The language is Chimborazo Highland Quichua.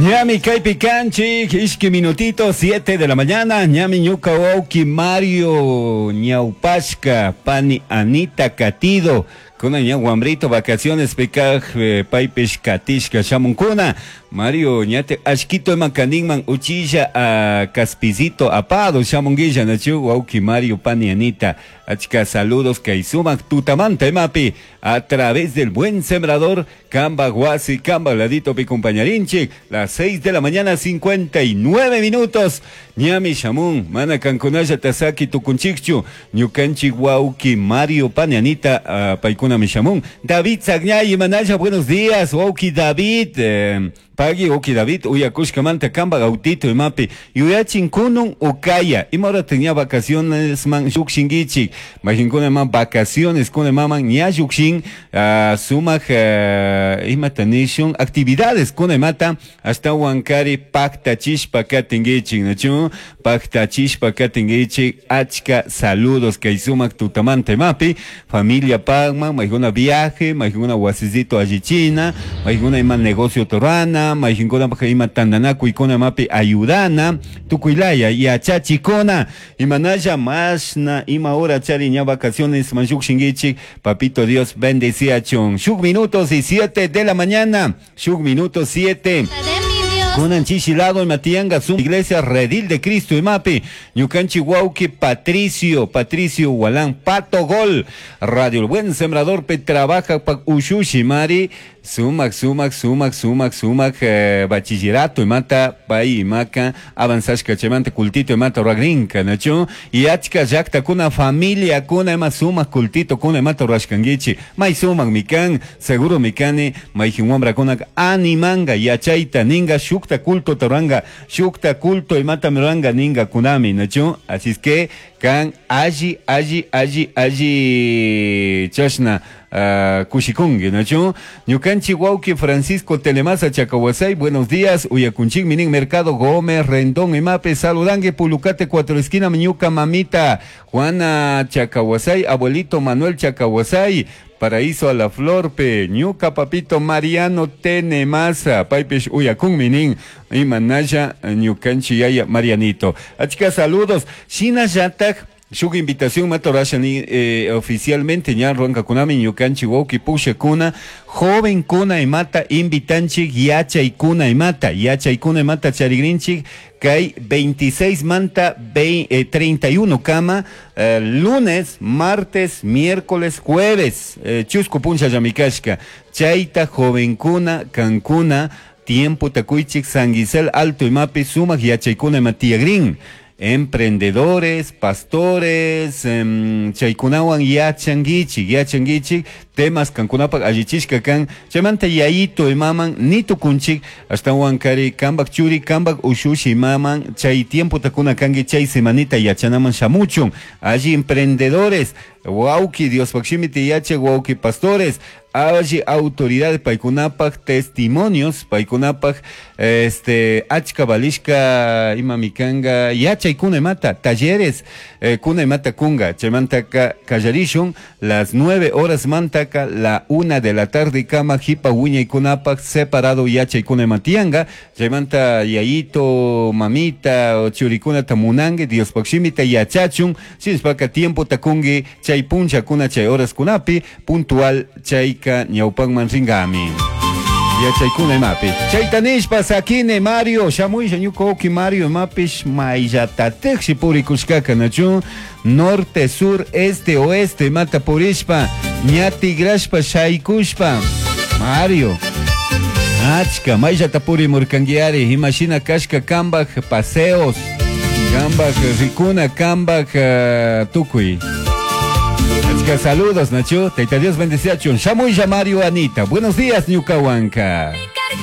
Ñami kaypi kanchik, ishki minutito, 7 de la mañana, ñami ñuka wawki Mario ñawpashka, pani Anita katido, kunan ña wambrito vacaciones pikaj paypish katishka shamunkuna. Mario ñate ashkito ima kaninman uchilla a kaspizito apado shamunguilla nachu wawki Mario pani Anita. Achka saludos kay sumak tutamanta imapi a través del Buen Sembrador Kamba wasi, Kamba ladito pi compañarinchik, las 6 de la mañana 59 minutos. Ñami shamun, mana kankunalla tasaki tukunchikchu, ñukanchik wawki Mario pani Anita, paykunami shamun. David Sagñay, manalla, buenos días, wawki David, pagui wawki David, uyakushkamanta kamba autito imapi, yuyachin kunun ukaya, ima hora tenía vacaciones man llukshinkichik, majinkuna ima vacaciones kuna imaman ña llukshin, sumak, imata nishun, actividades kuna imata, ashtawan kari paktachishpa katinkichik, nachu? Paktachishpa katinkichik, achka saludos kay sumak tutamanta imapi, familia pagman, majinkuna viaje, majinkuna wasisito allichina, majinkuna ima negocio torana, majinkuna ima tandanakuy kuna imapi ayudana, tukuylaya yachachikuna, imanalla mashna ima hora chari ña vacaciones manllukshinkichik, papito Dios bendeciachun. Shuk minutos y 7 de la mañana, shuk minutos 7. Kunan chishi lado imatianga su iglesia Redil de Cristo imapi, ñukanchi wawki Patricio, Patricio Walán, Pato Gol, Radio El Buen Sembrador pe trabaja pa ushushi mari, sumak, sumak, sumak, sumak, sumak, bachillerato imata, pay imaka, avanzashka chaymanta cultito imata ragrinka, nachu? Y achka llakta kuna familia kuna ima sumak cultito kuna imata rurashkankichik, may sumak mikan, seguro mikani, mayjin wambra kuna animanga, yachayta ninga, shukta culto toranga, shukta culto imata miranga ninga kunami, nachu? Así es que kan alli, alli, alli, alli chashna, kushikungi, nachu? Ñukanchi wawki Francisco Telemasa Chacawasay, buenos días, uyakunchik minin Mercado Gómez Rendón imape, saludangue Pulucate Cuatro Esquina, ñuka mamita Juana Chacawasay, abuelito Manuel Chacawasay, Paraíso a la Florpe, ñuka papito Mariano Tenemasa, paypish uyakun minin, imanalla ñukanchi yaya Marianito. Achka saludos, shinallatak shuk invitación matorashani, oficialmente ña ruankakunami ñukanchi wawki pushakuna, joven kuna imata invitanchik, yachaykuna imata, yachaykuna imata charigrinchik, kay 26 manta 31 kama, lunes, martes, miércoles, jueves, chusku puncha llamikashka, chayta jovenkuna, kankuna, tiempo takuychik, San Gisel Alto imapi, sumak yachaykuna ima tiyagrin. Emprendedores, pastores, chaykunawan yachankichik, yachankichik, temas kankunapak allichishka kan, chaymanta yayito imaman nitukunchik, ashtawan kari kambak churi, kambak ushushi imaman, chay tiempo takuna kanki, chay semanita yachanaman shamuchun, alli emprendedores, wawki Diospaq shimiti yachak, wawki pastores, alli autoridades paykunapak testimonios, paykunapak, achka valishka imamikanga yachaykuna imata, talleres, kuna imata kunga, chaymantaka kallarishun, las 9 horas mantaka, la 1 de la tarde kama jipa wiñaykunapak separado yachaykuna imatianga, chaymanta yayito, mamita, churikunata munangue, Diospaq shimita yachachun, sinspaka tiempo takungi, chay puncha kuna chay horas kunapi, puntual chayka ñawpanman ringami. Yachaykuna imapi. Chayta nishpa sakine Mario, shamuysha ñuka wawki Mario imapish mayllatatikshi purikushkaka nachu, norte, sur, este, oeste, imata purishpa, ña tigrashpa shaykushpa. Mario, achka, mayllata purimurkankiari, imashina kashka kambaj paseos, kambaj rikuna, kambaj, tukuy. Achka saludos, Nacho. Taita Dios bendeciachun. Shamuy Mario Anita. Buenos días, ñuka wanka.